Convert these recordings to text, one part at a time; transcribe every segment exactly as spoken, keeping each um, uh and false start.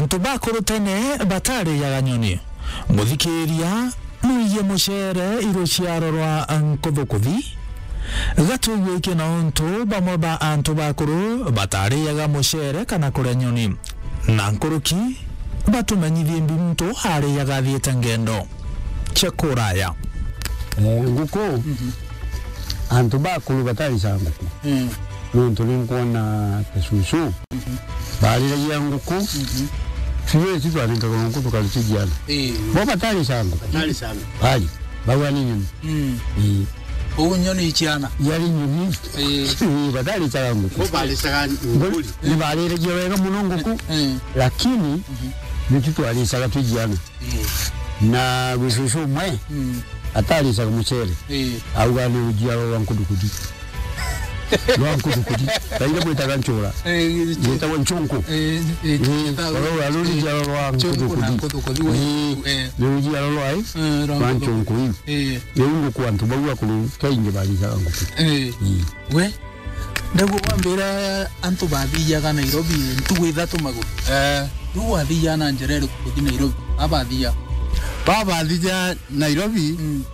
Antu bakuru tene batarijaga nyoni. Muthikiria, nuiye mucere i ruciaro rwa nkuthukuthi. Gatwigwe iki na untu bamwe ba antu bakuru batarijaga mucere kana kuria nyoni. Na nkuruki, batumenyithie mbi muntu arijaga athiite ngendo cia kuraya. Eh, nguku, antu bakuru batarijaga nguku. Mm. Nontu ni nkwona ta cucu bariragia nguku. Mhm. Tuwe tu twaringaga nguku tukaritijiana. Eh. Bo batarijaga nguku. Batarijaga nguku. Bari, bauga ni nyoni. Mm. Eh. Uu nyoni iciana. Yari nyoni. Eh. Eh, batarijaga nguku. Bo barijaga nguku. Ni bariragia wega muno nguku. Eh. Lakini, mhm, nitu twarijaga twijiana. Eh. Na gwicucu umwe, mm, ataricaga mucere. Eh. Auga ni rujiaro rwa nkuthukudi. Rwa nkuthukudi. Kaire gwitaga ncura. Eh, gwitagwa ncunku. Eh, eh, eh, oro rwa rujiaro rwa nkuthukudi. Nkuthukudi, eh, ni rujiaro rwa, eh, rwa ncunku iu. Eh. Riu nguku antu bau akuru kaingi baricaga nguku. Eh. Mm. We? Ndaigua bwambira antu bathiaga Nairobi ntugu ithatu maguru. Eh. Riu wathiaga na njira iriku kuthi Nairobi? Abathia. Babathia Nairobi, mm,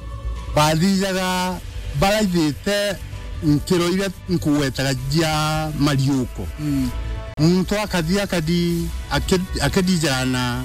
bathiaga baraithite nkiro iria nkugwetaga cia mariuko. Mm. Muntu akathi akathi aki-, akithijana,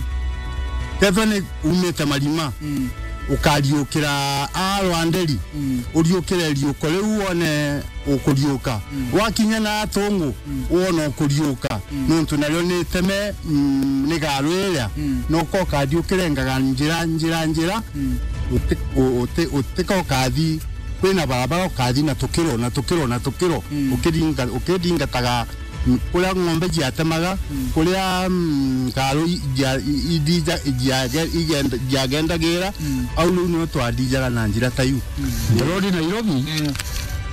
tethwa ni umite marima, mm, ukariukira a rwanderi, mm, uriukire riuko riu wone ukuriuka. Mm. Wakinya na atungu, mm, wona ukuriuka. Mm. Nontu nario ni iteme, mm, ni garu iria. Mm. Noka ukathiukirengaga njira, njira, njira. Mm. Uti-, u-, uti-, utika ukathi, kwina barabara ukathi na tukiro, na tukiro, na tukiro. Mm. Ukiringa-, ukithingataga, mm, kuria ng'ombe ciatemaga, mm, kuria, mm, ngaru i-, cia-, i-, i-, ithija-, ciage-, igenda-, ciagendagira, mm, au riu nio twathijaga na njira ta iu. Mm. Nairobi, Nairobi, mm,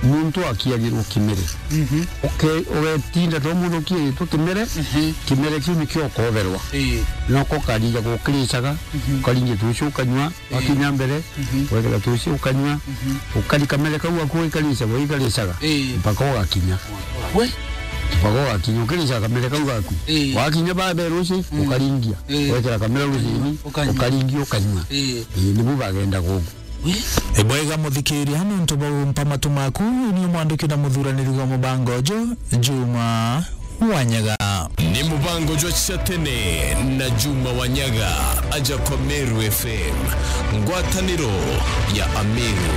muntu akiagirwo kimere. Mhm. Uke-, ugetinda to mundu ukiagitwe kimere, mhm, kimere kiu nikio ukoberwa. Ii. Noko ukathija gukiricaga, mhm, ukaringia tucio ukanyua, ii, wakinya mbere, mhm, wekira tucio ukanyua, mhm, ukari kamere kau gaku ugikaricagwa, ugikaricagwa, ii, mpaka ugakinya. We? Mpaka ugakinya, ukiricaga kamere kau gaku. Ii. Wakinya ba mbere ruci, mm, ukaringia. Ii. Wekira kamere rucini, ukanyua, ukaringia, ukanyua. Ii. Ii, nibu bagendaga ugu. Ibwega muthikiria, nontu bwa gumpa matu maku, ni umwandiki na muthuraniri wa mubango uju, Juma Wanyaga. Ni mubango jwa cia tene na Juma Wanyaga, aja kwa Meru F M, ngwataniro ya Ameru.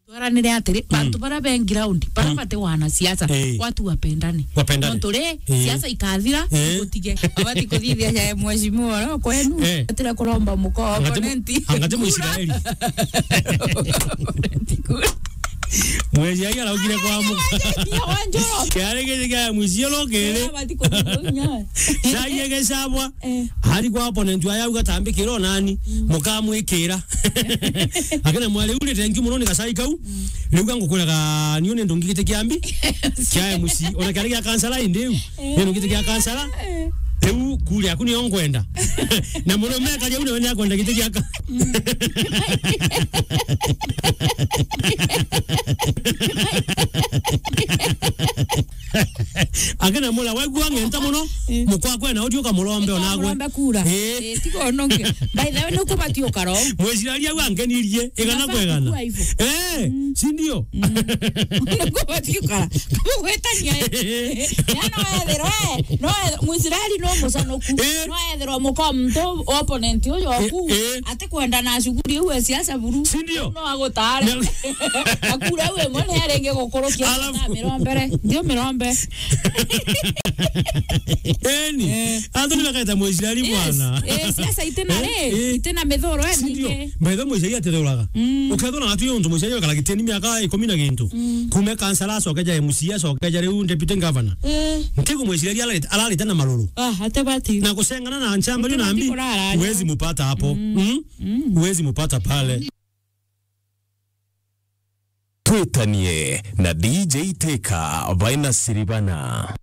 Twaranire atiri, mm, bantu baria be ground, baria, mm, bati wanasiasa, eh, watu wapendane. Wapendane. Nontu ri, eh, siasa ikathira, eh, igutige. Abati kuthithia ja mheshimiwa oro kwenu, eh, atire kuromba muko opponent. Angati Muisraeli. Opponent kura. Muisraeli araugire kwa muko. Kiari giki kia muici oro kiri. Abati kuthithia. Cai igicabwa. Eh. Ari kwa opponent wayo auga, "Tambikira o nani, mm, mukamwikira." Akina mwari, "Riu ni thank you muno ni gacai kau." Mm. Riu ga ngukwiraga, niu ni ndungi giti kia mbi kia M C. Ona kiari gia kansara indi riu. Eh. Ni ndungi giti kia kansara. Eh. Riu kuri aku niyo ngwenda. Na murume akaria u nawe ni akwenda giti gia ka- Mm. Akina mura, waigua ng'enta muno, eh, mukwa kwena uthi ukamurombe onagwe. Ukamurombe kura. Eh. Eh, tiga ununge. By the way, nuku bati ukaro. Mwiciraria u angenirie, igana kwa igana. Unafaa kuwa hivyo. Eh, mm, si ndio? Mm. Nuku bati ukara. Kugwetania, eh. Ya no ethirwe, eh, no ethirwe, Mwisraeli no muconoku. Eh. No ethirwe muko muntu opponent uyu oku. Eh, eh. Ati kwenda na shughuli iu ya siasa buru. Si ndio? No agutare. Na- akura iu imwe ni aringi gukurukia. Alafu na mirombe re. Ndio mirombe. Eni. Eh. Antu ni bakaita Mwisraeli. Yes. Mwana. Eh, siasa itina ri, eh, eh, itina mithoro, eh, si ndio? Nyingi. By the way, Mwisraeli atithuraga. Mm. Ukethura atu yo untu Mwisraeli wekara gitini miaka ikumi na gintu. Mm. Kume kansara acoke ja M C A, acoke ja riu deputy governor. Eh. Ntigu Mwisraeli ararita, ararita na maruru. Ah, ate bati. Na kucengana na nchamba ate na bati mbi, kurara, huwezi mupata hapo. Mm. Mm? Mm. Huwezi mupata pale. Twitanie na D J Teka baina Siribana.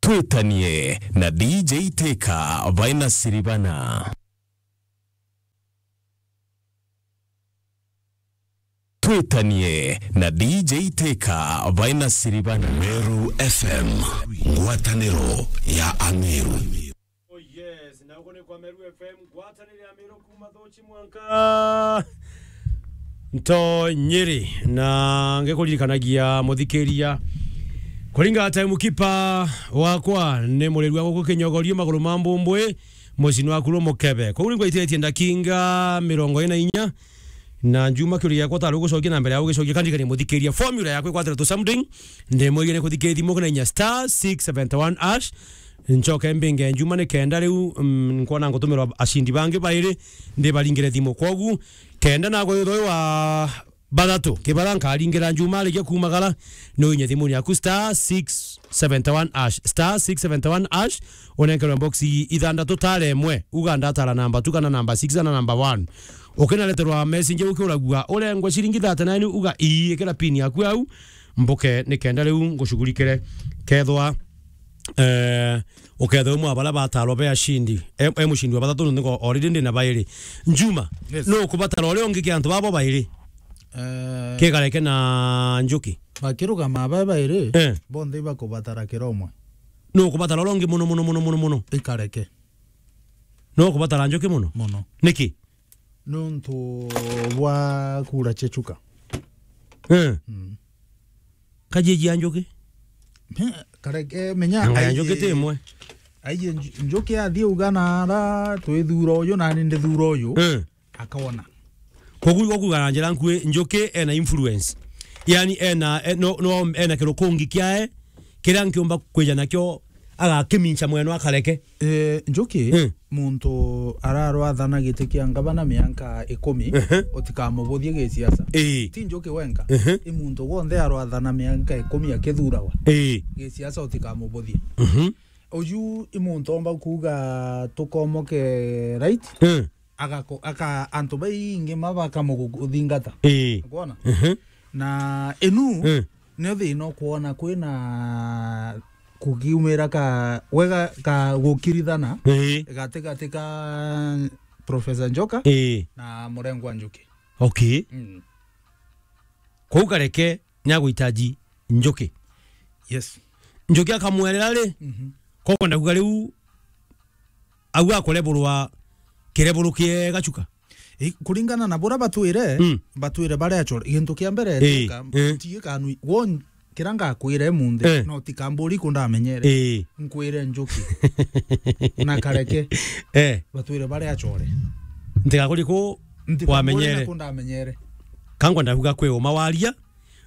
Twitanie na D J Teka baina Siribana. Gwitanie na D J Teka baina Siribana. Meru F M, ngwataniro ya Ameru. Oh yes, na uko ni kwa Meru F M, ngwataniro ya Meru kuma Thuchi mwanka Ntonyiri, na ngikuririkanagia muthikiria, kuringa time keeper wakwa ni muriru wa guku Kinyogorio, maguru ma mbumbwi, mucini waku ru mukebe. Koguo ngwaititie ndakinga mirongo ina na inya, na njuma kiuria giakwa tari ugucokia na mbere ya ugicokia, kandirikania muthikiria, formula yakwa ikwatira tu something, ndimwirie ni kuthikiria thimu kina inya star six seventy one hash, ncoke mbinge njuma ni kenda riu, mm, nkwona ngutumirwa acindi bangi bairi, ndibaringire thimu. Kwogu, kenda nagwe uyu wa bathatu, kibara nkaringira njuma arikia kumagara, ni uinye thimuni yaku star six seventy one hash, star six seventy one hash, unenkerwe box ithandatu tara imwe, uga ndatara namba two kana namba six kana namba one. Ukinareterwa message ukiuragua, urengwe ciringi thirty nine, uga ii, ikira pin yaku au, mbuke ni kenda riu ngucugurikire. Kethwa, eh, ukethwa umwe wa baria batarwa be acindi, e, e mucindi wa bathatu, nontu already ndi na bairi. Njuma, yes, no kubatara uria ungi kia antu babo bairi. Eh. Kikareke na Njuki. Bakirugama ba bairi, eh, bonthe ibakubatara kira umwe. No kubatara uria ungi muno, muno, muno, muno, muno. Ikareke. No kubatara Njuki muno? Muno. Niki? Nontu bwa kura cia Chuka. Eh. Mm. Kajiji ya Njuki? Me-, kareke, menya, anga ya Njuki ti imwe? Aiye Nju-, Njuki athie uga nara twithura uyu, nani ndithura uyu. Eh. Akona. Koguo, koguo na njira nkui, Njuki ena influence. Yani ena, e-, no, no, ena kirukungi kiae, kiria nkiumba kwija nakio agakimincha mweno akareke. Eh, Njuki, eh, muntu ararwathana giti kia ngavana mianka ikumi, ehe, utikamubuthie gisiasa. Eh. Ti Njuki wenka, ehe, i muntu wonthe arwathana mianka ikumi akithuragwa. Eh. Gisiasa utikamubuthie. Mhm. Uju i muntu omba kuuga tukomoke right? Eh. Agako-, aka-, antu baingi ma bakamuthingata. Ii. Ukwona? Mhm. Na inu, mm, nio thina ukwona kwina kukiumira ka wega ka gukirithana, ii, gatigati ka Professor Njoka, ii, na Murengwa Njuki. Okay. Mm. Kou kareke niaguhitaji Njuki. Yes. Njuki akamwerera ri, mhm, kokwenda kuga riu au akureburwa kireburu kiega Chuka? I, kuringana na bura batwire, mm, batwire baria acore. Gintu kia mbere, eh, tika, eh, ti kanui. Won, kira ngakwire munthi, eh, no tikamburi kundamenyere. Eh. Nkwire Njuki. Na kareke. Eh. Batwire baria acore. Ntigakuri ku wamenyere. Ntikamburi na kundamenyere. Kangwa ndakuga kwi uma waria,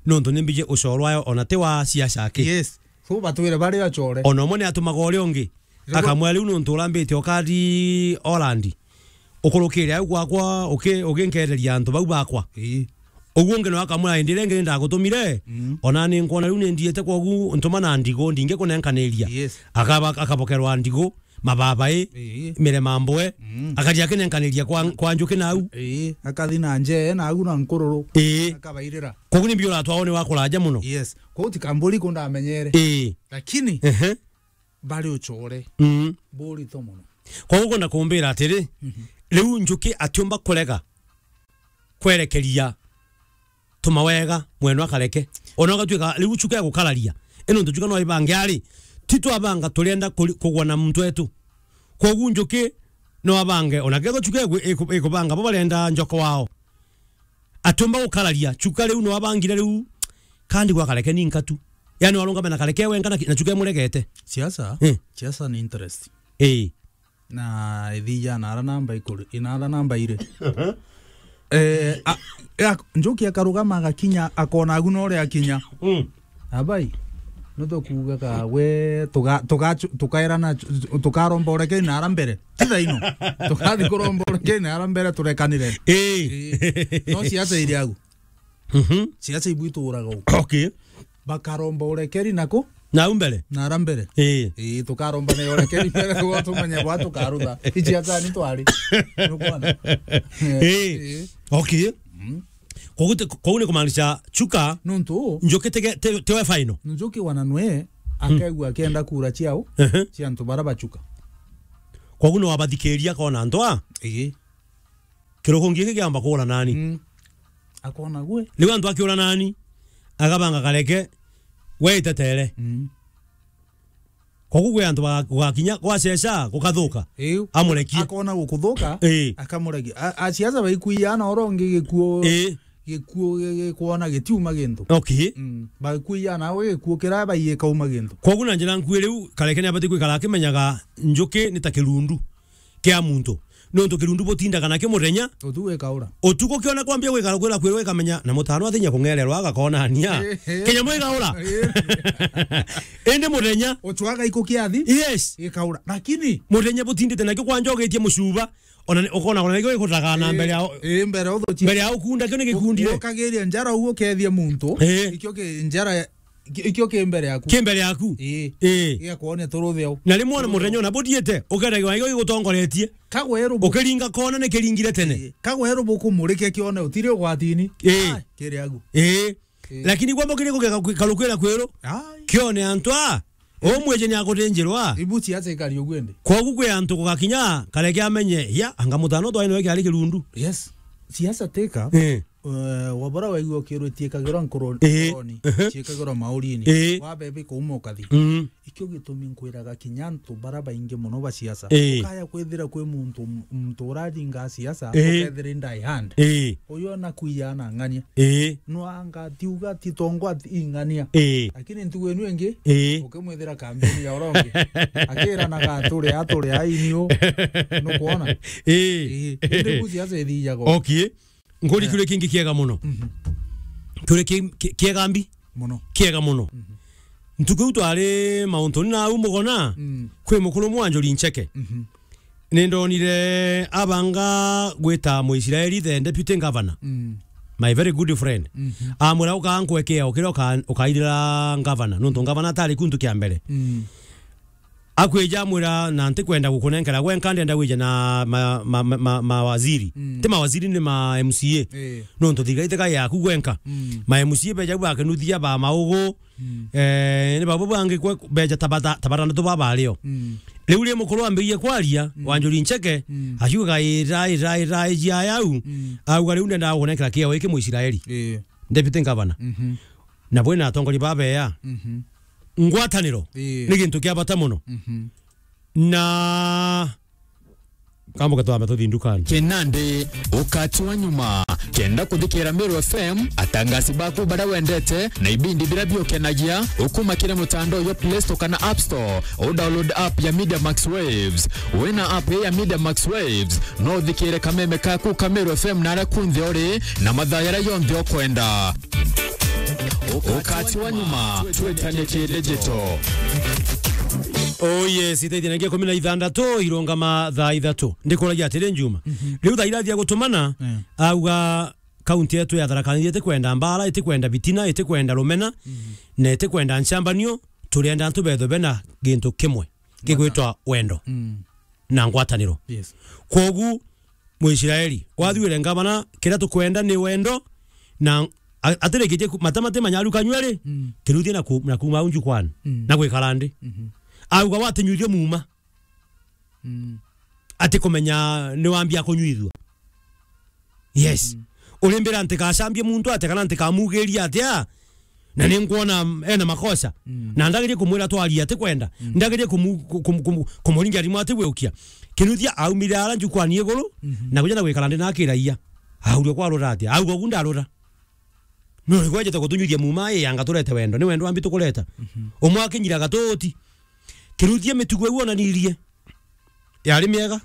nontu nimbiji ucoro ayo ona ti wa siasa aki. Yes. So batwire baria acore. Ona umwe ni atumaga uria ungi. Riu akamwira, "Riu nontu urambite ukari Holland, ukurukire au gwakwa, uki-, uginkereria antu bau bakwa." Ii. Uguo ungi no akamwira, "Indi ringi ni ndagutumire, mm, ona ni nkwona riu ni ndiite, kwogu ntuma na ndigu, ndingi kunenkaniria." Yes. Akaba-, akabokerwa ndigu, mababai, ii, mirema mbwe, mm, akathi akinenkaniria kwa, kwa Njuki nau. Ii, akathi na njee, nau na nkururu. Ii. Akabairira. Kwogu ni mbi uratwa one wa kuraja muno. Yes. Kwogu tikamburi kundamenyere. Ii. Lakini, ehe, bari ucore. Mm. Burito muno. Kwogu kwenda kumbira atiri, mhm, riu Njuki atiumba kurega kwerekeria tuma wega mweno akareke. Ona ugatuika riu Chuka egukararia. Ino ntu Chuka no ibange ari, ti twabanga turenda kuri-, kugwa na muntu wetu. Kwogu Njuki no abange, ona kethwa Chuka iku-, iku-, ikubanga bo barenda Njoka wao. Atiumba gukararia, Chuka riu no abangire riu, kandi gwa kareke ni nkatu. Yani warungame na kareke wenka na ki-, na Chuka imuregete. Siasa? Eh. Siasa ni interest. Eh. Na ithija na ara namba ikuri, ina ara namba iri. Eh, a, ya, Njuki akarugama agakinya, akona agu no ria akinya. Mm. Abai, no tukuugaga we, tuga-, tuga-, tukaerana, tukaromba urekeri na ara mbere. Ti thaino. Tukathi kuromba urekeri na ara mbere turekanire. Ii. Ii. No siasa iri agu. Mhm. Siasa ibu ituraga u. Okay. Bakaromba urekeri naku? Na au mbere? Na ara mbere. Ii. Ii, tukaromba na urekeri mbere, gwa tumenye bwa tukarutha. Ichi ata ni twari. Nukwona? Ii. Ii. Okay. Mm. Koguo ti-, koguo ni kumaanisha Chuka, nuntu Njuki tege-, te-, tewe final. Njuki wana nwe, hmm, akegua akienda kura ciao, ehe, cia antu bara ba Chuka. Koguo no abathikiria kona antu a? Ii. Kirukungi giki kiamba kura nani? Mm. Akona gwe. Riu antu akiura nani? Agabanga kareke, we itetere. Mm. Kogu gwe antu ba-, gugakinya, gwaceca, gukathuka. Iu. Amurekie. Akona gukuthuka, Ii. Akamurekia. A-, a siasa baikuiya na oro ngi gikuo, Ii. Gikuo gi-, gikwona gitiuma gintu. Okay. Mm. Baikuiya nawe gikuo kira baiye kauma gintu. Kogu na njira nkui riu, kareke ni abati kwikara akimenyaga njuki ni ta kirundu kia muntu. Nontu kirundu butindaga nakio muthenya. Utuku gikaura. Utuku kiona kwambia gwikara kwira kwirwa ikamenya na mutano athinya kung'ererwa agakonania. Eh, eh. Kinyamu gikaura. Eh. Indi muthenya. Ucwaga iko kiathi? Yes. Gikaura. Lakini muthenya butindite nakio kwanja ugitie mucuba, ona ni-, ukona ona nikio gikutaga na Eh, mbere ya, eh, mbere ya uthukia. Mbere ya ukunda kio ni gikundire. U-, ukagiria njara uguo ukethie muntu. Eh. Ikio ki njara Ki-, ikio ki mbere yaku. Ki mbere yaku. Ii. Ii. Gigakwone turutheo. Na rimwe ona muthenya ona buthiite, ukeragirwa ikio gigutongoretie. Kagweru bu- Ukiringa kona ni kiringire tene. Ii. Kagweru bukumurike kione utiri ugwatini. Ii. Ai, kiri agu. Ii. Ii. Lakini gwa mukiri kugeka kwi-, karukwira kwiru. Ai. Kione antu a, umwije ni akutinjirwa. Ibu siasa ikari uguo indi. Kogu kwi antu gugakinya, kareke amenye, ya, anga mutano twaino iki ari kirundu. Yes. Siasa teka. Ii. Eh, wabora waigua ukirwo ciikagirwa nkoro-, Ii. Nkoroni, Ehe. Ciikagirwa maurini, Ii. Wabebe kuuma ukathi. Mm. Ikio gitumi nkwiraga kinya antu bara baingi mono ba siasa. Ii. Ukaya kwithira kwi muntu, muntu uraringa siasa, Ii. Ukethira die hard. Ii. Uyu ona kuiya na ng'ania. Ii. Nwanga tiuga ti tongwa ti ing'ania. Ii. Lakini ntugu inu ingi, Ii. Ukimwithira kambini ya uronge. Akiranaga ature, ature, ai niu. Nukwona? Ii. Ii. Indi bu siasa ithijaga. Okay. Nkuri Eh. Kiuria kingi kiega mono. Mhm. Kiuria ki-, ki-, kiega mbi? Mono. Kiega mono. Mhm. Ntuku iu twari mauntuni na au Mugona, Mm. Kwi mukuru mwanjuri Ncheke. Mhm. Nindonire abanga gwita Muisraeli, the deputy governor. Mm. My very good friend. Mhm. Amwira, "Uka nkwekea, ukira uka-, ukairira governor." Nontu governor atari kuntu kia mbere. Mm. Akwija amwira, "Na ntikwenda gukunenkera gwenka, ndenda wije na ma-, ma-, ma-, ma-, mawaziri." Mm. Ti mawaziri, ni ma M C A. Eh. Nontu thirikari tika yaku gwenka. Mm. Ma M C A beja bakinuthia ba maugu. Mm. Eh, ni babu bangi kwe beja tabata, tabatana tu baba ario. Mm. Riu ri mukuru ambirie kwaria, Mm. Wanjuri Ncheke, Mm. akiuga, "Ira, ira, ira, ijia yau." Mm. Auga, "Riu ndenda gukunenkera kiao iki Muisraeli." Eh. Deputy governor. Mhm. Na bwina atongoria babeya. Mhm. Ngwataniro Ii. Ni gintu kia bata mono. Mhm. Na kambuka twambe tuthi ndukani. Kinandi, ukati wa nyuma. Kenda kuthikira Meru F M, atangasi baku baria wendete, na ibindi biria biukenagia, ukuma kiri mutandao jwa Play Store kana App Store, u download app ya Media Max Waves. Wina app ya Media Max Waves, no uthikire kameme kaku ka Meru F M na aria kunthe uri, na mathaa jaria jonthe ukwenda. Ukati wa nyuma, twitanie ki digital. Oh yes, itaithia na ngia kumi na ithandatu, irungama thaa ithatu. Ndikuragia atiri, Njuma. Mhm. Riu thaa irathia gutumana, Eh. Auga kaunti yetu ya Tharaka Nithi itikwenda mbara, itikwenda bitina, itikwenda rumena, Mhm. Na itikwenda nchambanio, turienda antu bethwe bena gintu kimwe. Kigwitwa wendo Mm. na ngwataniro. Yes. Kwogu, Muisraeli, wathuire ngavana, kiria tukwenda ni wendo, na a-, atirikitie ku-, matama ti manyaru kanyua ri, Mm. kiruthie na ku-, na kuuma au njukwani, Mm. na gwikara nthi. Mhm. Auga watinyuithio muuma. Mm. Ati kumenya ni wambia kunyuithua. Yes. Mm. Urimbira ntikacambie muntu atia kana ntikamugiria atia? Na ni nkwona ena makosa. Mm. Na ndagerie kumwira twaria ati kwenda. Mm. Ndagerie kumu-, ku-, kumu-, kumu-, kumuringia rimu ati gwiukia. Kinuthia aumire ara njukwani iguru, Mhm. na kuja na gwikara ndi na akiraia. Auria kwarura atia? Auga ugu ndarura. No ni gwejete gutunyuria muuma, ii, anga turete wendo. Ni wendo wambi tukureta. Mhm. Umwe akinyira gatuti. Kiruthia mitugo iu onanirie. Yari miega.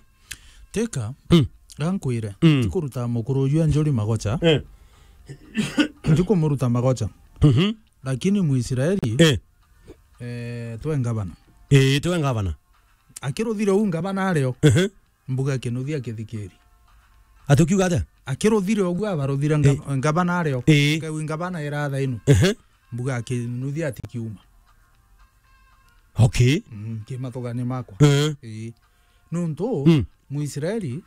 Teka, Mm. gankwire, Mm. Ndikuruta mukuru uyu Anjuri magocha. Eh. Ndikumuruta magocha. Mhm. Lakini Muisraeli, Eh. eh, twe ngavana. Eh, twe ngavana. Akiruthire u ngavana ario. Ehe. Mbuga akinuthia akithikiri. Ati ukiuga atia? Akiruthire uguo abaruthire nga-, Eh. Ngavana ario. Eh. Kau ngavana iratha inu. Ehe. Mbuga akinuthia atikiuma. Okay. Mm, ki mathugani makwa. Eh. Ii. Nuntu, Mm. Muisraeli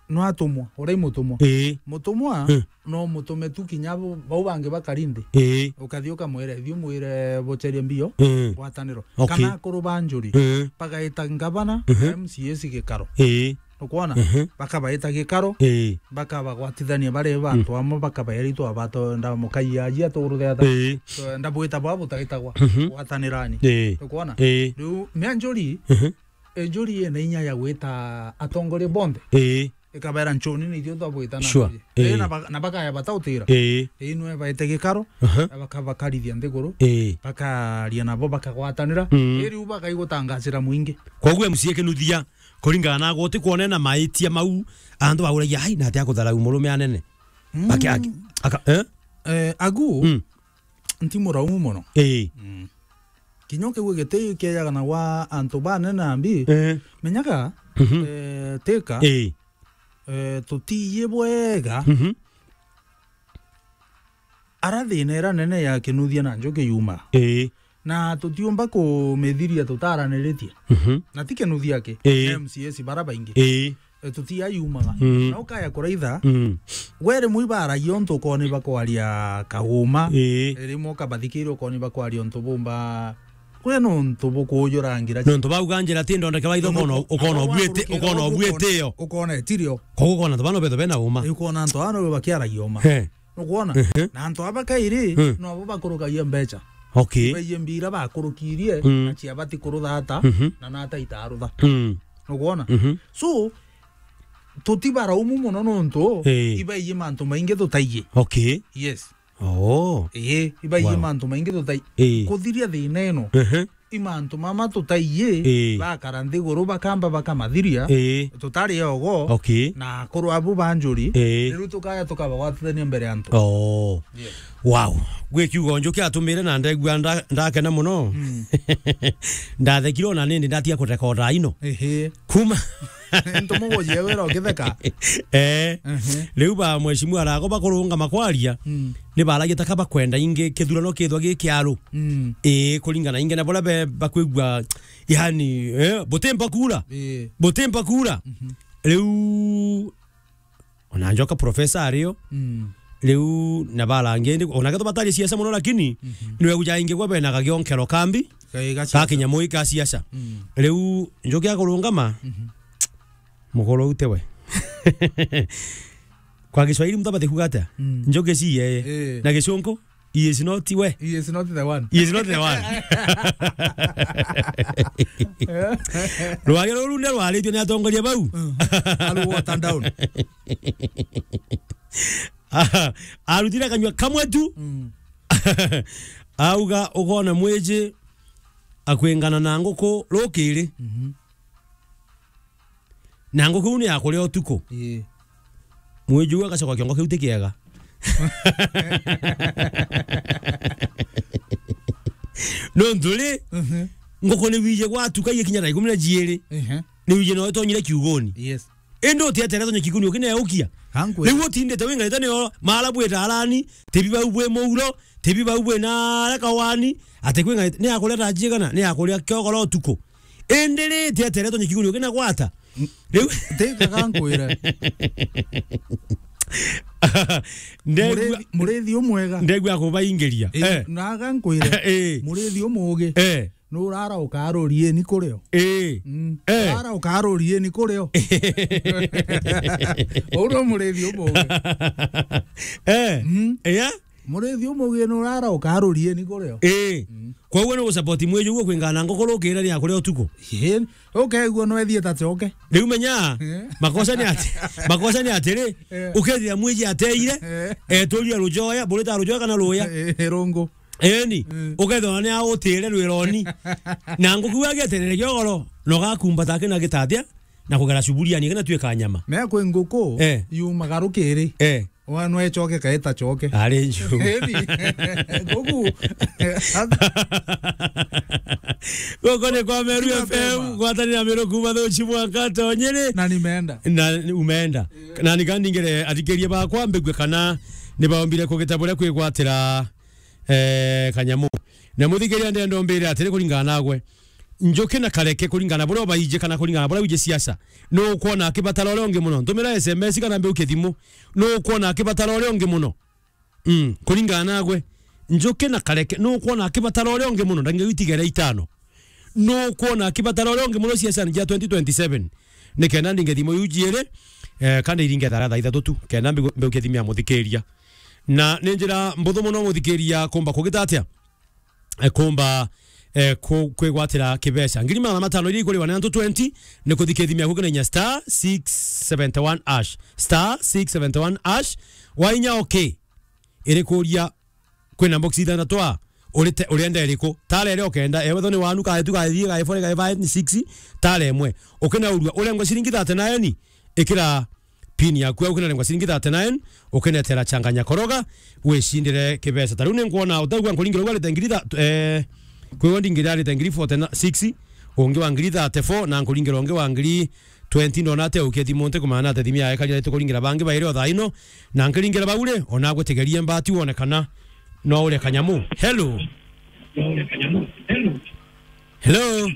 no atumwa, uria i mutumwa. Ii. Mutumwa, Mm. no mutume tu kinya bo-, bau bangi bakari nthi. Ii. Ukathi ukamwira, "Thiu mwire bucherie mbio, Mm. ngwataniro." Okay. Kana akuru ba Njuri, Mm. bagaita ngavana, Mhm. na M C As gikaro. Ii. Nukwona? Mhm. Bakabaita gikaro, Ii. bakabagwatithania bari bantu amwe, bakabaira itwa bato, ndamukaia aji atuguruthe ata. Ii. So, ndabwita bwa butaitagwa, Mhm. gwatanirani. Ii. Nukwona? Ii. Riu, mea njuri, Mhm. Enjuri ina inya ya gwita atongoria bonthe. Ii. Ikabaira, "Nchuni ni ithuĩ twabwita na Sure. Njuri." Ii. Ii, na ba-, na bakaya batautira. Ii. Ii, nwe baite gikaro, Aha. na baka-, bakarithia nthiguru, Ii. bakaria nabo, bakagwatanira. Mm. Ii, riu bakaigutangacira mwingi. Koguo M C A Kinuthia, kuringana na guti kwonena maitia mau, antu bauragia, "Ai, na atia kutharau murume anene?" Mm. Aki-, aki-, aka-, eh? Eh, agu, Mm. nti muraumu muno. Ii. Mm. Kinya kiu giti kiejaga na gwa antu banene ambi. Eh. Menyaga, Mhm. eh, tika, Ii. eh, tutiiji bwega. Mhm. Ara thina ira nene ya Kinuthia na Njuki yuma. Ii. Na tutiumba kumithiria tutaraniritie. Mhm. Na ti Kinuthia aki, Ii. M C As bara baingi. Ii. E, tutiayumaga. Mm. Na ukaya kuraitha, Mm. we rimwe ibaragia untu ukoni bakwaria kauma. Ii. E, rimwe ukabathikiria ukoni bakwaria untu bumba. Kwi nuntu bukujurangira. Nuntu bauga njira ti ndondeke waitho, ukona, ukona ubuite, ukona ubuite yo. Ukona etirio. Koguo ukona antu bano betho bena uma. Ii, ukona antu bano bakiaragia uma. He. Nukwona? Ehe. Na antu aba kairi, Mm. nobo bakurukagia mbecha. Okay. Baiye mbira bakurukirie, Mm. na cia bati kuruthata, Mhm. na nata itarutha. Mm. Nukwona? Mhm. So, tutibaraumu muno nontu, Ii. ibaiye mantu maingi tutaiye. Okay. Yes. Oh. Ii, ibaiye Wow. mantu maingi tutaiye. Ii. Kuthiria thina ino. Ehe. I mantu mama tutaiye, Ii. bakara nthiguru bakamba bakamathiria, Ii. tutari ogo, Okay. na akuru abu ba njuri, Ii. riu tukaya tukabagwatithania mbere ya antu. Oh. Yes. Wow. Gwi kiugo Njuki atumire na ndegua nda-, ndakena muno. Mm. Ndathekire ona nindi ndatiga kurekota ino. Ehe. Kuma Ntumugujie wira ukitheka. Eh. Mhm. Riu ba mheshimiwa arago bakurungama kwaria, Mm. ni baragia ta kaba kwenda ingi kithurano kithwa gi kiaru. Mm. Ii, kuringana ingi na boria be bakwigua, yani, eh, butimpa kura. Ii. Butimpa kura. Mhm. Riu ona Njoka professor ario. Mm. Riu na barangi indi, ona ketho batari siasa muno, lakini Mhm. niwe guja ingi gwa bena gagionkero kambi. Ka kinyamu ika siasa. Mm. Riu Njuki akurungama, Mhm. mukuru ute we. Kwa Kiswahili mtu abate kuga atia? Mm. Njuki si yeye. Eh. Na Gicunku, he is not we. He is not the one. He is not the one. Rwari ruru ndio rwaritio ni atongoria bau. Mm. Aru water down. Arutire kanyua kamwe tu. Mm. Auga, ukona mwiji akwingana na nguku rukiri. Mhm. Na nguku iu ni ya kuria utuku. Ii. Mwiji uu agacoka kiongo kiu ti kiega. Nontu ri, Mhm. nguku ni wije gwatuka igikinya thaa ikumi na jiiri. Ehe. Ni wije no itonyire kiuguni. Yes. Indi utietere tonye kiuguni ukineukia. Kankwira. Riu utindite wingarite nio mara bwita arani, tibi bau bwi muuro, tibi bau bwi na aria kawani, ati kwingarite, ni akuria thaa jiigana, ni akuria kiogoro utuku. Indi ri, tietere tonye kiuguni ukinagwata. Riu Tikaga nkwire. Ndegua Murithi, murithi umwega. Ndegua kubaingiria. Eh, Eh. na aga nkwire. Eh. Murithi umugi. Eh. Nurara ukarurieni kurio. Ii. Mm. Eh. Urara ukarurieni kurio. Uu no murithi umugi. Eh. Mm. Yeah. Murithi umugi nurara ukarurieni kurio. Ii. Mm. Koguo ni gusupport mwiji uguo kwingana na nguku rukiri ni ya kuria utuku. Ii. Ukeigua no ethie ta coke. Riu menya, Eh. makosa ni ati, makosa ni atiri, Eh. ukethira mwiji ateire, Eh. eturia rujoya, burita rujoya kana ruya. Eh, rungu. Eni, Mm. ukethirwa ni autire rwironi. Na nguku iu agieterere kiogoro, na ugakumbata akina gitatia, na kugera cuburiani, akina tuika nyama. Me kwi nguku, Eh. yumaga rukiri. Eh. Wa nwe coke kaita coke. Ari nju. Eni. Nguku. Guku ni kwa Meru Tiga F M, bema. Gwatanira Meru kuma Thuchi mwanka Tonyere. Na nimeenda. Na umeenda. Na nikandingire athikiria bakwa mbigue kana ni baombire kugita buria kwigwatira eh, kanyamu. Na muthikiria ndenda umbire atiri kuringana nagwe. Njuki na Kareke kuringana buria ubaiji kana kuringana buria wiji siasa. Nu ukwona akibatara uria ungi muno? Ntumira S M S kana mbiukie thimu. Nu ukwona akibatara uria ungi muno? Mm, kuringana nagwe. Njuki na Kareke, nu ukwona akibatara uria ungi muno? Ndagika itigere itano. Nu ukwona akibatara uria ungi muno siasani ja twenty twenty-seven? ni kenda ndinge thimu iu jiiri, eh, kana iringe thaa, thaa ithatu tu, kenda mbigu-, mbiukie thimu ya muthikiria. Na ni njira mbuthu muno muthikiria kumba kugita atia? Eh, kumba, eh, ku-, kwigwatira kibeca. Ngiri magana matano iria ikuriwa na antu twenty, ni kuthikia thimu yaku kina inya star six seventy one hash. Star six seventy one hash. Wainya okay. Irikuria kwina box ithanthatu a, urite, urenda iriku? Tara iria ukenda, ewe tho ni wanu, kaetu kaithii, kae four, kae five, ni six, tara imwe. Ukinaurua, urengwa ciringi thirty-nine, ikira pin yaku au, ukinarengwa ciringi thirty-nine, ukinetera changanya koroga, wicindire kibeca. Ta riu ni nkuona, utaigua nkuringire uga rite ngiri tha-, eh, kwigua ndingira rite ngiri forty-six, ungi wa ngiri thirty-four, na nkuringire ungi wa ngiri twenty, ndona ate ukia thimu nti kumana ate thimu yae kari arite kuringira bangi bairi o thaa ino, na nkiringira bau ri, ona agwitigerie mbati wone kana no uria kanyamu. Hello? Hello?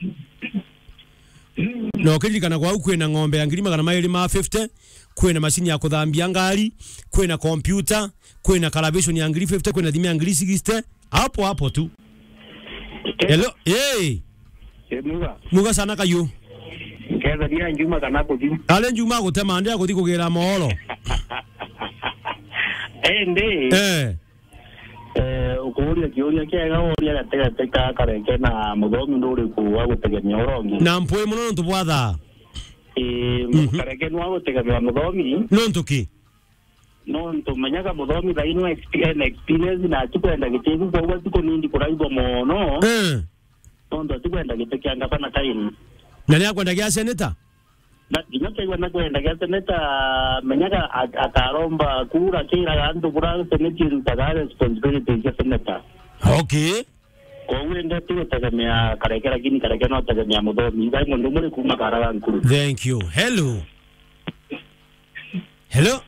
Na ukiririkana kwau kwina ng'ombe ya ngiri magana mairi ma fifty, kwina macini ya kuthambia ngari, kwina kompyuta, kwina kalabeshoni ya ngiri fifty, kwina thimu ya ngiri sixty, hapo hapo tu. Hello, hey. Eh, muga. Muga sana kayu. Ketha dia njuma kana kuthi. Ale njuma gutema, ndia kuthi kugira mohoro. Indi. Eh. Eh, ukuuria kiuria kiega, uria gatigati ka Kareke na Muthomi, nuriku wa gutegemea uria ungi? Na mpwi muno nontu bwa thaa. Eh, mhm. Kareke ni wa gutegemea Muthomi. Nontu ki? Nontu menyaga Muthomi thaa ino exp-, ena experience na atikwenda gitigu, koguo atikunindi kuraigwa mono. Eh. Nontu atikwenda giti kia ngavana kaini. Na ni akwenda gia seneta? Na kinya kegwa na kwenda gia seneta, menyaga a-, akaromba kura, kiraga antu bura seneti irutaga responsibility cia seneta. Okay. Koguo ende tigutegemea Kareke, lakini Kareke no tegemea Muthomi. Ithai mundu muri kuma Karaga nkuru. Thank you. Hello. Hello.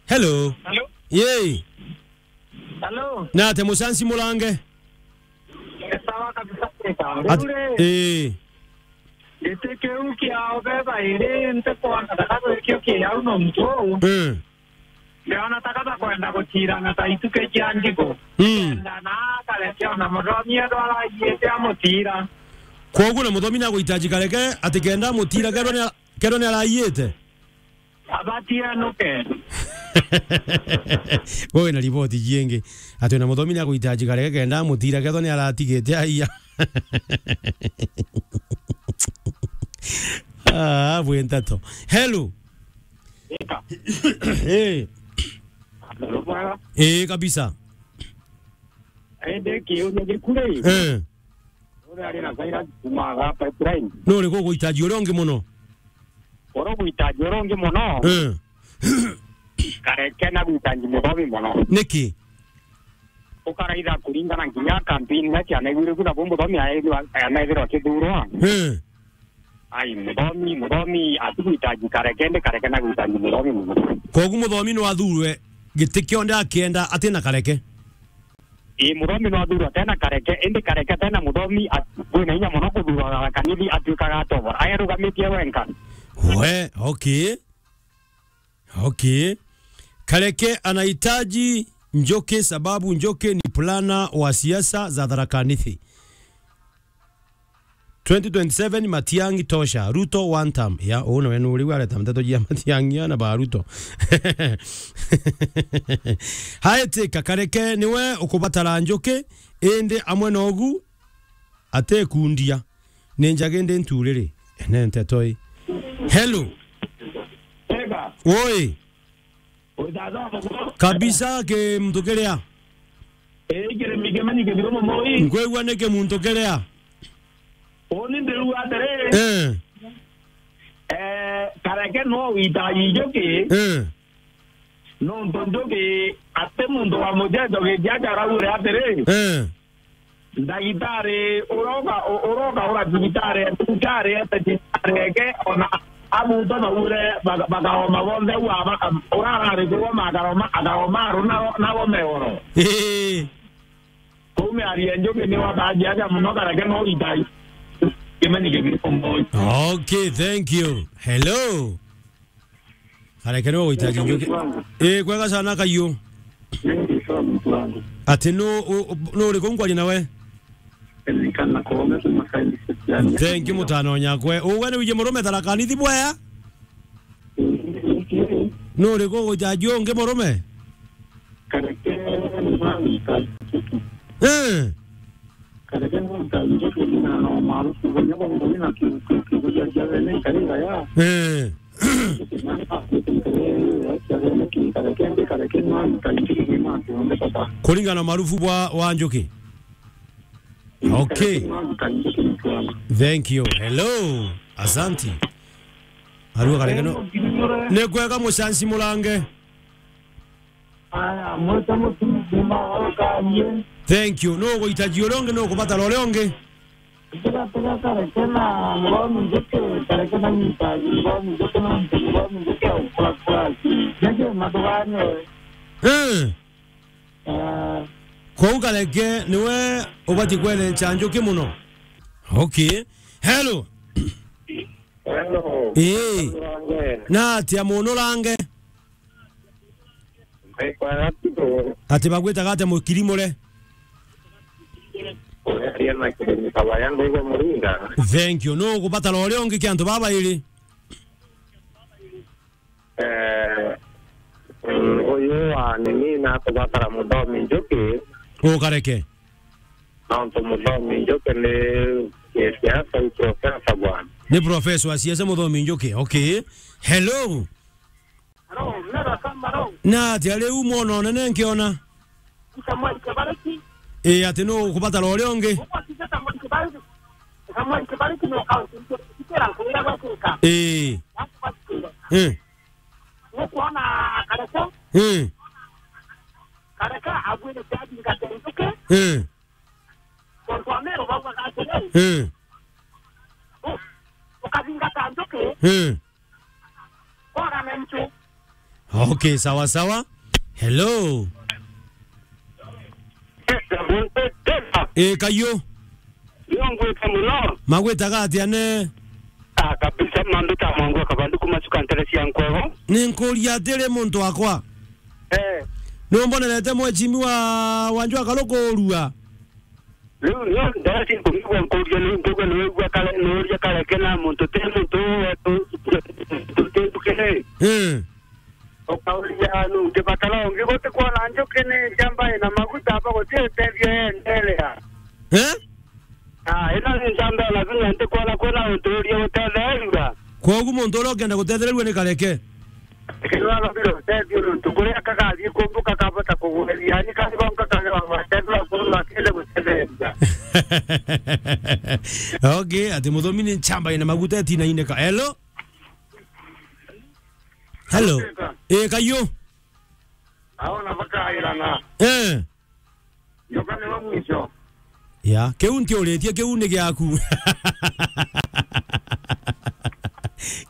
Hello. Hello. Yei. Hello. Nate mucanci murange. Sawa kabisa, kabisa. At-, uri, eh. Giti kiu kia ubeba iri ntikwona kana gwikio kiau nontu. Eh. Ndiona ta kaba kwenda gutirana ta ituke cia njigu. Mm. Kenda na Kareke ona Muthomi edo aragiite amutira. Kwoguo na Muthomi naguhitaji Kareke ati kenda amutira kethwa ni, kethwa ni aragiite? Abati anuke. Wewe na riboti jingi. Ati ona Muthomi ni aguhitaji Kareke kenda amutira kethwa ni aratigite aiya. Ah, bwe ntato. Hello. Eka. Eh. Hello, bwana. Eh, kabisa. Ende kiuria gikuri. Eh. Uri ari na Cyrus kuma ga pipeline. No uriku uguhitaji uria ungi muno? Uria uguhitaji uria ungi muno. Eh. Kareke na guhitaji Muthomi muno. Niki? Ukaraitha kuringana nginya campaign na ciana igwire kuna bo Muthomi aethirwa, anaethirwa akithurwa. Eh. Ai, Muthomi, Muthomi atiguhitaji Kareke, ndi Kareke na guhitaji Muthomi muno. Koguo Muthomi no athurwe giti kionde akienda atina Kareke? Ii, Muthomi no athurwa tena Kareke, indi Kareke tena Muthomi at-, kwina inya muno kuthurwa Tharaka Nithi atuikaga atobora. Aerugamitie wenka. We, okay. Okay. Kareke anahitaji Njuki sababu Njuki ni plana wa siasa za Tharaka Nithi. Twenty twenty-seven Matiang'i tosha, Ruto one term. Ya, uu nawe nuri areta nteto jia Matiang'i na ba Ruto. Haetika Kareke niwe ukubatara Njuki, indi amwe nogu atekundia. Ni njagi ndi nturiri. Ene nteto i. Hello. Ega. Woi. Kabisa ke mtu kiria. Eh, ikirimi kimenyi kithiro muno ii. Nkwigua ni kimuntu kiria. Uni ndiru atiri. Eh. Eh, Kareke no witaji Njuki. Eh. Nontu Njuki ati muntu wa mujejo gitia jaraure atiri. Eh. Ndagitari uroka, u-, uroka ura thibitari, thibitari ete thibitari eke, ona abuto na ure baka-, bakaoma bonthe ua baka-, urarari kuoma akaroma, akaoma aru na, na gome oro. Ii. Kuu miario ya Njuki ni wataji aja muno Kareke no itai. Kimenyi kibiri kumoi. Okay, thank you. Hello. Kareke niwe guhitaji Njuki. Eh, kwega sana kayu. Ati nu, u-, u-, nu uriku nkwaria nawe? Thank you, mutano nyakwe. Uwe ni wije murume Tharaka Nithi bwea? Nuri ku gujaji ungi murume? Eh. Eh. Kuringana na marufu bwa, wa njuki. Okay. Thank you. Hello. Asanti. Arua karekeno. Ni kwega mucanci murange. Aya, mwete mutumba wakanie. Thank you. No guitaji uria ungi, no kubatara uria ungi. Tiga, tiga, karekena, muromi njuki, karekena nyita, muromi njuki, no muromi njuki, kura, kura. Njuki, matuganye. Eh. Ah. Kou kareke niwe ubati kwerenca njuki muno. Okay. Hello. Hello. Ii. Range. Na atia muno range? Mbaikwa ya tuto. Ati bagwitaga atia mukirimure? Uria na kirimi kabaya ndaigo muringa. Thank you. No kubatara uria ungi kia antu babairi. Eh, mm, uyu wa nini na kubatara muthomi njuki. Ukareke. Nontu muthomi njuki ni, ni siasa, i profesa bwana. Ni profesa wa siasa muthomi njuki. Okay. Hello. Hello, mera kama hello. Na atia riu mwana unene nkiona? Samuel Kibariki. Ii, ati nu kubatara uria ungi? Uko sija Samuel Kibariki. Samuel Kibariki no kaunti ikira nkuira gwa kuka. Ii. Ii. Nukwona Kareke? Ii. Kareke agwire siadi ngatenduke. Ii. Tontu Ameru baugaga atiri, ii, u-, ukathingata njuki, ii, kora na nchu. Okay, sawa sawa. Hello. Ii, kayo. Nio ngwite muno. Magwitaga atia ne? Ah, kabisa, mambita Mwangu wa Kabandu kuma Chuka ntere cia Nkwego. Ni nkuria atiri muntu wakwa. Eh. Ni umbonerete mwechimi wa Wanjwa Karuku urua? Riu nio ndarati kumigua nkuria ni nkuga ni wigua kare, ni uria Kareke na muntu ti muntu wetu, tu ti nduke ni. Eh. Ukauria nu ngibatara ungi guti kwona njuki ni njamba ina maguta aba guti utethio yendelea. Eh? Ah, ino ni njamba ina vinya nti kwona kwina untu uria utetheerua. Kwogu muntu uria ukenda gutetheerua ni Kareke. Lakini wagambira utethio nontu kuria kagathii kumbuka kabota kugueria, ni kari bonka kagera gwateethua kuruma kende gutetheeria. Okay, ati muthomi ni nchamba ina maguta itinaineka. Hello? Hello? Ii, kayo? Aona bakairana. Eh. Nyoka niwe mwisho. Ya, kiu ntiuritie, kiu ni giaku.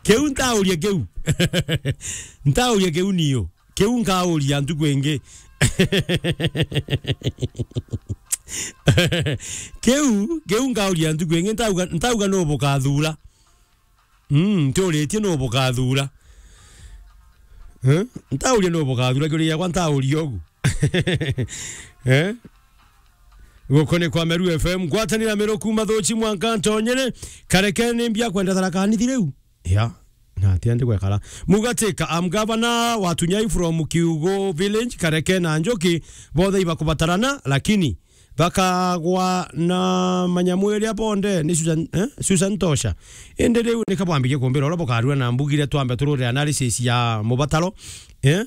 Kiu ntauria kiu. Ntauria kiu niyo. Kiu nkauria ntuku ingi. Kiu, kiu nkauria ntuku ingi, ntauga, ntauga nu bukathura. Mm, ntiuritie nu bukathura. Eh? Ntauria nu bukathura, kiuria giakwa ntauria ugu. Eh? Guku ni kwa Meru F M, ngwatanira Meru kuma Thuchi mwanka Ntonyere, Kareke ni mbia kwenda Tharaka Nithi riu. Ya, na atia ndi gwekara. Mugatika, am governor wa Tunyai from Kiugo village, Kareke na Njoki, bothe ibakubatarana, lakini bakagwa na manyamu iria bonde ni Susan, eh? Susan Tosha. Indi riu ni kabwambirie kumbira uria bukarua na mbugire twambe turure analysis ya mubataro. Eh?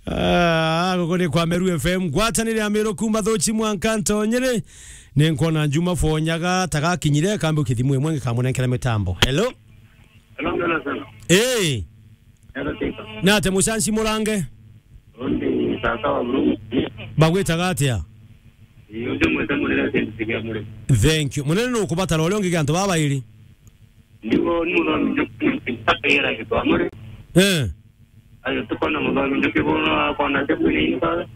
Ah, guku ni kwa Meru F M, ngwatanire ya Meru kuma Thuchi mwanka Ntonyere. Ni nkwona Juma Fonyaga tagakinyire kambe ukithimu imwe ngikamunenkera mitambo. Hello? Hello, Jonathan. Eh. Hello, Tito. Nate mucanci murange? Undi tata wa Murungu. Bagwitaga atia? Ii, undi mwete munene asendikia muri. Thank you. Munene nukubatara uria ungi gia antu baba bairi. Nigo ni muthomi njuki, mpaka yera gitwa muri. Eh. Ayo tukona muthomi njuki bono akona te kwina inka.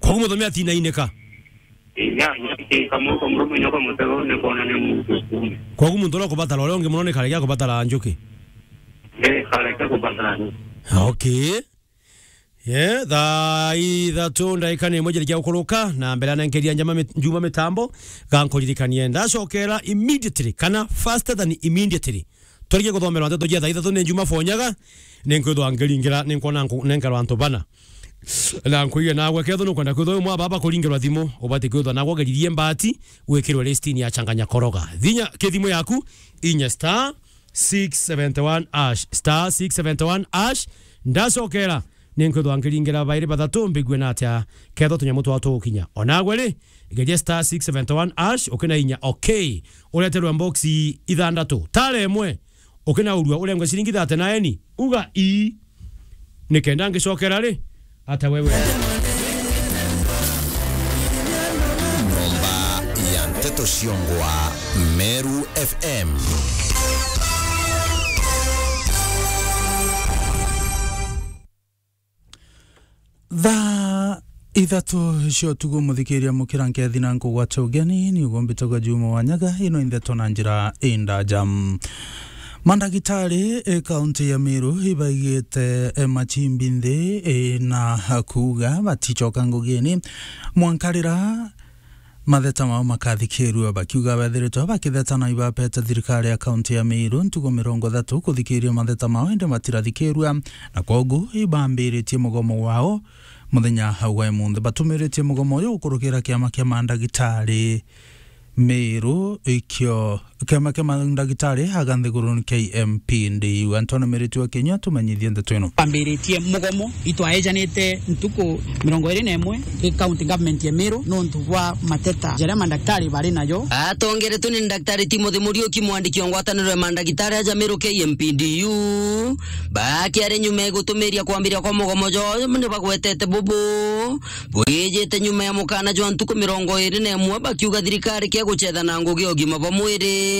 Kwa muthomi atina ineka. Ii, ya, ya, ke kamwe kwa murume nyoka mutego ni kona ni muntu kume. Kwa muntu uria ukubatara uria ungi muno ni Kareke akubatara Njuki. Eh, Kareke kubatara ni. Okay. Yeah, thaa ithatu ndaika ni imwe jirikia gukuruka, na mbere anenkeria njama mit-, Njuma mitambo, gankuririkanie ndacokera immediately, kana faster than immediately. Twarikie kuthomerwa nteto jia thaa ithatu ni Njuma fonyaga, ni nkwithwa nkiringira, ni nkwona nku-, nenkerwa antu bana. Na nkwigua nagwe kethwa nukwenda kwithwa wi mwa baba kuringerwa thimu, ubati kwithwa nagwe geririe mbati, wikirwe listini ya changanya koroga. Thinya kithimu yaku, inya star six seventy one hash, star six seventy one hash, ndacokera, ni nkwithwa nkiringira bairi bathatu mbigue na atia kethwa tunyamu twao tugukinya. Onagwe ri, geria star six seventy one hash, ukina inya okay, ureterwe mboxi ithandatu. Tara imwe, ukinaurua urengwe ciringi thate na eni, uga ii. Nikenda ngicokera ri, ata wewe? Nyomba ya nteto ciongwa, Meru F M. Thaa ithatu cia utuku, muthikiria mukira nkethi na nkugwata ugeni, ni uguo mbitagwa Juma Wanyaga, ino i ndeto na njira indaja. Mandagitari, e, kaunti ya Meru ibaigite, e, machimbi nthi, e, na kuuga baticoka ngugini mwanka riria matheta mao makathikirua, bakiuga bethiritwe bakitheta na ibapete thirikari ya kaunti ya Meru ntuku mirongo ithatu kuthikiria matheta mao, indi batirathikirua, na kwogu ibambiritie mugomo wao muthenya wa imunthi. Batumiritie mugomo uyu gukurukira kiama kia mandagitari Meru, ikio kiama kia mandagitari aga nthiguruni K M P D U. Antonio Miriti wa Kinyua tumenyithie ndeto ino. Twambiritie mugomo, itwaejanite ntuku mirongo iri na imwe i county government ya Meru nontu bwa mateta jaria mandagitari bari najo. Atongeretwe ni Daktari Timothy Muriuki, mwandiki wa ngwataniro ya mandagitari aja Meru K M P D U, bakiari nyuma ya gutumiria kwambiria kwa mugomo jwao, ni bagwetete bubu bwijite nyuma ya mukana jwa ntuku mirongo iri na imwe, bakiuga thirikari kia gucetha na ngugi ya ugima bwa mwiri.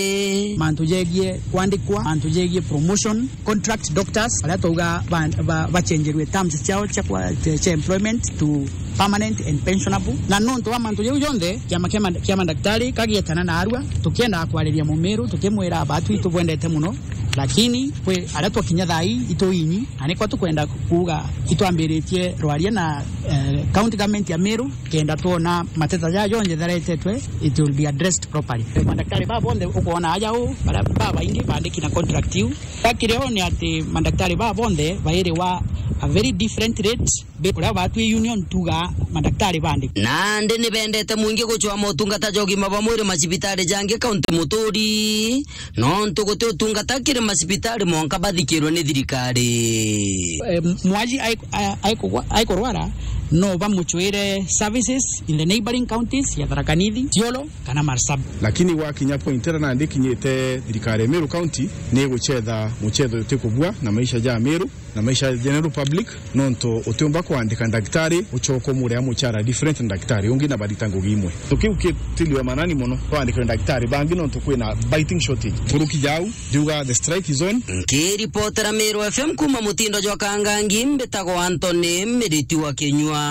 Mantu jegie kwandikwa, mantu jegie promotion, contract doctors, aria twauga ba, ba, bachenjerwe terms ciao cia kwa, cia, cia employment to permanent and pensionable. Na nontu wa mantu jau jonthe, kiama kia manda-, kia mandagitari kagietana na arua, tukienda kwariria Mumiru, tukimwira, batwi tubwendete muno, lakini kwi aria twakinya thaa ii ituinyi, na nikwa tukwenda kuuga itwambiritie rwaria na, eh, county government ya Meru, kenda twona mateta jaa jonthe jaretetwe, it will be addressed properly. Mandagitari baa bonthe ukwona aja uu, baria babaingi bandiki na contract iu. Gakiri o ni ati mandagitari baa bonthe bairiwa a very different rate, be kuria batwi union tuga mandagitari bandi. Nandi ni bendete mwingi gucwa motungata ja ugima bwa mwiri macibitari jangi kaunti muturi. Nontu guti utungata kiri macibitari, mwanka bathikirwe ni thirikari. Eh, mwaji ai-, ai-, aikugwa-, aikurwara, no bamuchwire services in the neighboring counties ya Tharaka Nithi, Isiolo, kana Marsabit. Lakini gwakinya point iria nandi ikinyite, thirikari ya Meru County ni iguchetha muchetho utikubua na maisha ja Meru na maisha ya general public, nontu utiumba kwandika ndagitari ucoka umuria muchara different na ndagitari ungi na barita ngugi imwe. Ntu kiu kitiliwe manani mono, twandikirwe ndagitari bangi nontu kwina biting shortage. Nkuruki jau, ndiuga the strike is on. Nkiripotera Meru F M kuma mutindo jwa Kangangi, mbitagwa Anthony Miriti wa Kinyua.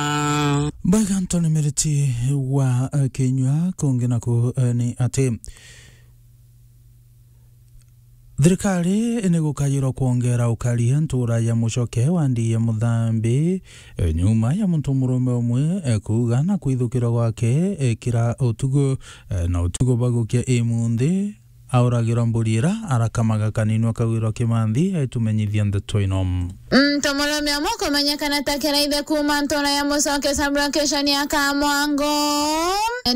Bwega Anthony Miriti wa, eh, Kinyua. Kungi naku, eh, ni ati thirikari ni gukajirwa kwongera ukari ntura ya mucoke wa ndi ya Muthambi, e, nyuma ya muntu murume umwe, e, kuuga na kwithukirwa gwake, e, kira utuku, e, na utuku bagukia imunthi, auragirwa mburi ira arakamaga kaninwa kagwirwa kimanthi, aitumenyithia ndeto ino. Muntu murume umwe kumenyekana ta Kiraithe kuuma ntura ya Mucoke sub-location ya Kamwango,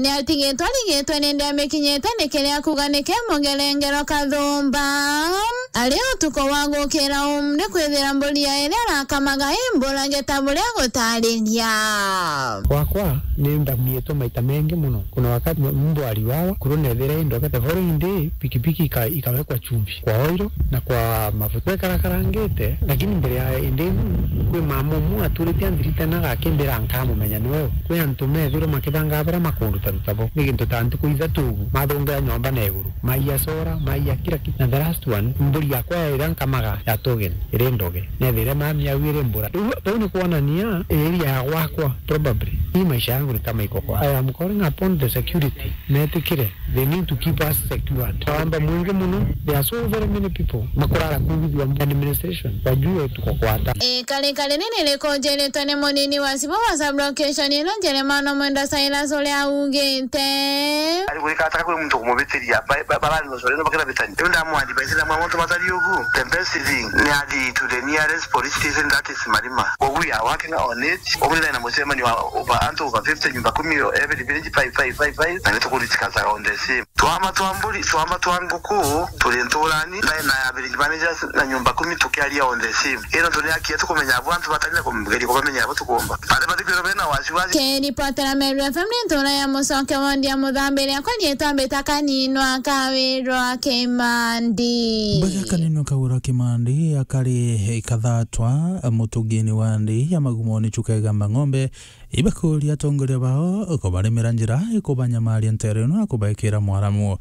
ni atigitwe arigitwe ni ndi amikinyite ni kiria kuuga ni kimugerengero kathumba, ari utuku wa gukira um, ni kwithira mburi ya iria arakamaga imbura gita buria gutariria. Gwakwa ni ndamiitwe maita mengi muno. Kuna wakati mbwa aliwawa, kuru nethira indogete, the following day pikipiki ika-, ikawekwa chumvi kwa oil na kwa mafuta. Kwekarakarangite, lakini mbere ya indi iu, kwi mama umwe aturite anthirite na gakimbira nkamumenya ni we u. Kwi antu methirwe makibanga bara makunduta rutabo. Ni gintu ta ntuku ithatu ugu, mathungira nyomba na iguru. Maiya sora, maiya kila kitu. Na the last one, mburi Yakwa iria nkamaga ya token iri ndoge, nethire mami au iri mbura. Riu bau ni kwonania area ya gwakwa, probably, hii maisha yangu ni kama iko kwa. I am calling upon the security, metikire, they need to keep us secured. Wamba mwingi muno, there are so very many people makurara kuu Githuamba administration, wajue tuko kwa hatari. Ikarika rinini rikunjiritwe ni munini wa Sibo wa sub-location ino, Jeremano Mwenda Silas, uria augite. Ari gwika ataka kwi muntu kumubitiria, ba-, ba-, barari no sore no bakira bitani. Riu ndamwandi baisi na mwa muntu batari ugu. The best thing ni athi to the nearest police station, that is Marima. Ugu ya working on it. Ugu ni na mucemanio wa over, antu over fifty, nyumba kumi, every village five, five, five, five. Na ni tukuritikaza on the same. Twama twa mburi, twama twa nguku, turi nturani, na, na ya village managers na nyumba kumi tukiaria on the same. Ino tuni akia tukumenya abo antu batari na kumgeria kumenya abo tukumba. Baria bathikwirwa bena wasiwasi. Kiripotera Meru F M ni ntura ya Mucoke wondi ya Muthambiri, akwa riitwa mbita Kaninwa Kawirwa Kimandi. Mbega Kaninwa Kawirwa Kimandi, akari ikathatwa, mutugini wa ndi ya Magumoni Chuka Igamba Ng'ombe, ibakuria atongoria bao kubaremera njira ikubanyamaria nteere ino na kubaikira mwaramu.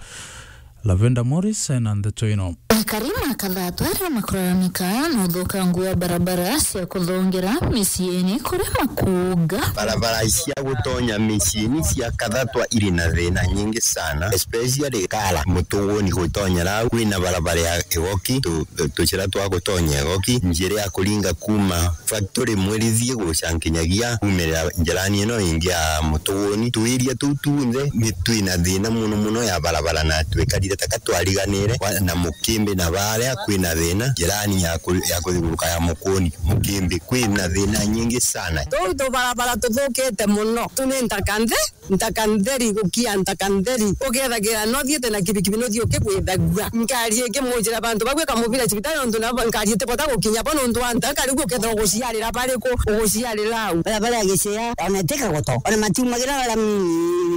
Lavenda Morris ena ndeto ino. Akari ma Kathatwa aria makuraramika na uthukangu wa barabara cia kuthongera miciini kuria makuuga. Barabara cia gutonya miciini cia Kathatwa iri na thina nyingi sana, especially Kara Mutuguni gutonya rau, kwina barabara ya Igoki, tu-, tucira twa gutonya Igoki, njira ya kuringa kuma factory Mwirithie guca nkinyagia kuumirira njirani ino ingi ya Mutuguni. Twiria tuu tunthe ni twina thina muno muno ya barabara, na twikarire taka twariganire kwa, na Mukimbi, na baria kwina thina njirani ya ku-, ya kuthiuruka ya Mukuni, Mukimbi, kwina thina nyingi sana. Tuu tubarabara tuthukite muno, tu ni ntaka nthe. Ntaka ntheri, gukia ntaka ntheri. Ukethagira no thiete na kibikibi, no thii ukigwithagua. Ngari ikimujira bantu bau ikamubira cibitari, nontu nabo ngari itibota gukinya bo nontu wa ntaka, riu ukethira uguciarira bariku, uguciarira au. Barabara ya Gicea, ona iti Kagoto, ona matiumagira rami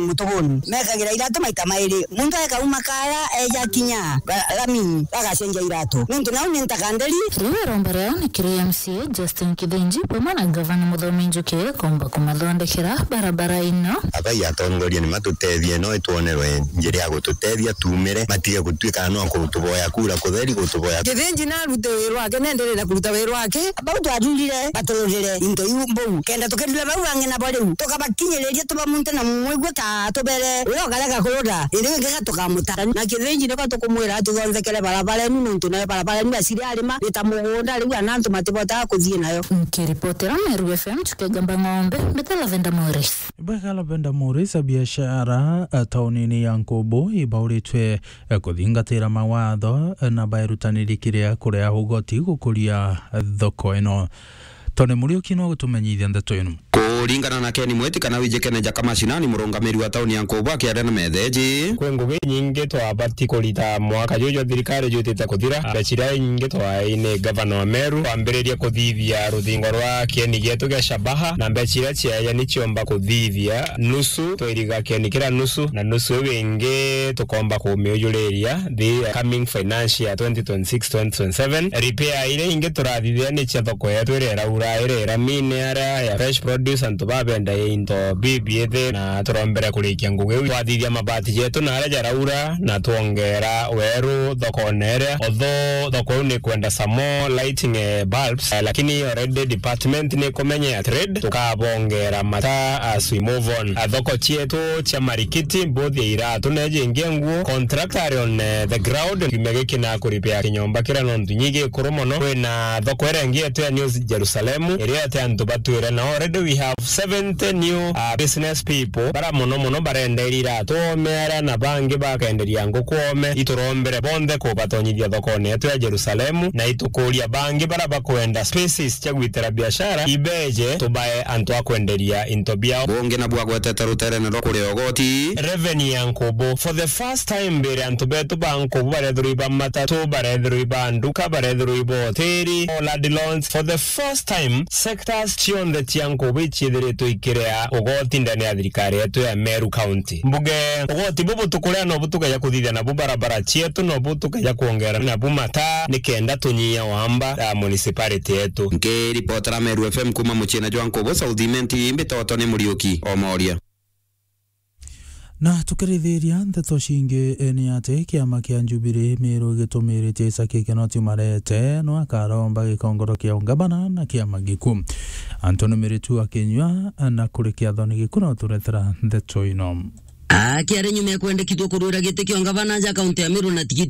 Mutuguni. Mekagira iratu maita mairi. Muntu ekauma Kara, eja kinya ba-, rami, bagacenjia iratu. Nontu nau ni ntaka ntheri. Riu iromba riao ni kiri M C A Justin Kithinji, bamwe na Gavana Muthomi Njuki, komba kumathondekera barabara ino. Abai atongoria ni matutethie, no itwonerwe njira ya gututethia tuumire, matige gutuika no kutuboya kura kutheri, gutuboya. Kithinji narute wira wake, nenderee na kuruta wira wake. Bau twathurire batururire into iu mbou, kenda tukirira bau bangi nabo riu, tukabakinyiriria tubamunte na mwigua ta tubere uria ukarega kurura, indi wingi gatukamuta. Na Kithinji niko tukumwira atuthonthekere barabara inu, nontu nayo barabara inu aciri arima ni ta mugunda, riu ana antu matibotaga kuthii nayo. Nkiripotera Meru F M, Chuka Igamba Ng'ombe, mbita Lavenda Morris. Bwega Lavenda Morris, abiashara, eh, taunini ya Nkubu ibauritwe, eh, kuthingatira mawatho, eh, na baerutaniri kiria kurea ugoti gukuria, eh, thoko ino. Tony Muriuki no gutumenyithia ndeto ino. Kuringana na Ken Mweti kana Wijikene Jaka Mashinani, murungamiri wa tauni ya Nkubu, akiaria na metheji. Kwi ngugi inyingi twabati kurita mwaka juju jwa thirikari jwitite kuthira. Mbeca iria inyingi twaai ni gavana wa Meru kwambiriria kuthithia ruthingo rwa kieni gietu gia Shabaha, na mbeca iria ciaeja ni ciomba kuthithia nusu, twairiga kieni kiria nusu, na nusu iu ingi tukomba kumiujuriria the coming financial year twenty twenty-six twenty twenty-seven. Repair iria ingi turathithia ni cia thoko yetu iria iraura, iria iramine aria ya fresh produce, antu babendagia into bibithi, na turombere kurikia ngugi iu. Twathithia mabati jetu na aria jaraura, na twongera weru thokone iria. Although thoko iu ni kwenda some more lighting, eh, bulbs, eh, lakini already department ni ikumenya ya trade, tukabongera mata as we move on. Ah, thoko cietu cia marikiti, both ya iratu na jingi nguo, contractor ari on, eh, the ground, kiumia giki na kuripea kinyomba kiria nontu nyi gikuru mono. Kwina thoko iria ingi yetu ya New Jerusalem, iria ati antu batwire, na already we have seventy new, uh, business people, bara mono mono barenderia iratu ome aria, na bangi bakenderia nguku ome. Iturombere bonthe kubatonyithia thokone yetu ya Jerusalemu, na itukuria bangi bara bakwenda spaces cia gwitira biashara, ibeje tubae antu a kwenderia into biao. Bungi nabu agwetete ruterene rwa kuria ugoti. Revenue ya Nkubu. For the first time mbere, antu betu ba Nkubu barethirwa iba matatu, barethirwa iba nduka, barethirwa iba hoteli, all ad loans. For the first time, sectors cionthe cia Nkubu iciithiritwe ikirea ugoti ndene ya thirikari yetu ya Meru County. Mbuge, ugoti bubu tukurea nobu tukeja kuthithia nabu barabara cietu, nobu tukeja kwongera nabu mataa, nikenda tunyia wamba ya municipality yetu. Nkiripotera Meru F M kuma muciina jwa Nkubu, South Imenti, mbitagwa Tony Muriuki Omoria. Na tukirithiria ndeto cingi, eh, ni ati kiama kia Jubilee Meru gitumirite icaki kino tiumarete no akaromba gikongoro kia ungabana na kiama giku. Anthony Miritu akinyua na kuri kiathoni giku na uturetera ndeto ino. Akiari nyuma ya kwendekithua kurwira giti kia ungabana ja kaunti ya Meru na tigiti